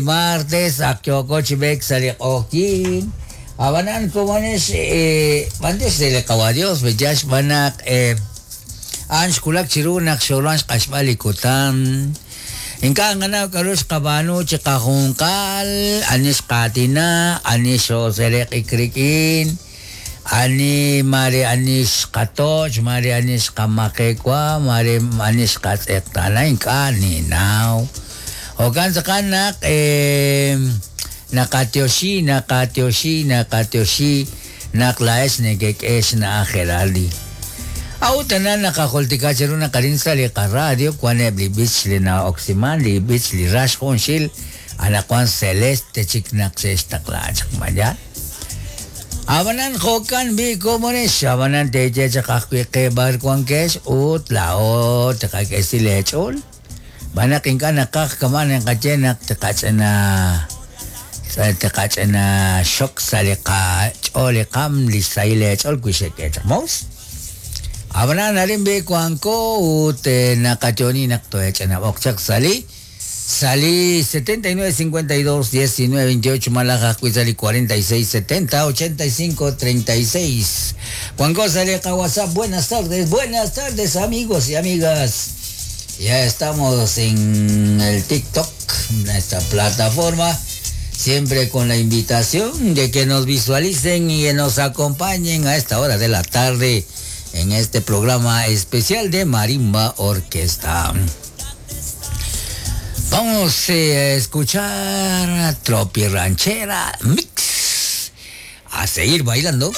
Martes ak yooko chi b'eek sa' li q'oqyink. Ab'anan komonex b'antiox re li Qawa' Dios pe'yaal xb'aan naq a'an xwulak chiru naq xooruhan xq'axb'al li kutan. Ink'a' nqanaw k'a'ru xqab'aanu chiqajunqal, ani xqaatina, ani xoosereq'ik rik'in, ani maare ani xqatoch', maare ani xqamaqewa, maare ani xqatz'eqtaana, ink'a' ninnaw. Jo'kan tz'aqal naq naqatyoxi, naqatyoxi, naqatyoxi naq laa'ex nekek'e xna'aj Geraldi. A'ut tana naqajultika cheru naq arin sa' li qaradio wan eb' li b'ich li na'oksiman, li b'ich li rax junxil, anaqwan celeste chik naq xe'xtaqla chaq ma yaal. Ab'anan jo'kan b'i' komonex, ab'anan teeye chaq ajwi' qe b'ar wankex ut laa'o tqak'esi leech'ool. Xb'aan naq ink'a' naqaj kama' naqaye naq tqach'ina tqach'ina xok sa' li qach'ool li qaam li xsahil eech'ool wi xek'e chaq moos. Ab'anan arin b'i' wanko ut naqayo'oni naq too'ech'inab'oq chaq sa' li sa' li 79 52 19 28 malaj ajwi' sa' li 46 70 85 36. Wanko sa' li qaWhatsApp. Buenas tardes, buenas tardes amigos y amigas. Ya estamos en el TikTok, nuestra plataforma, siempre con la invitación de que nos visualicen y que nos acompañen a esta hora de la tarde en este programa especial de Marimba Orquesta. Vamos a escuchar a Tropi Ranchera Mix. A seguir bailando.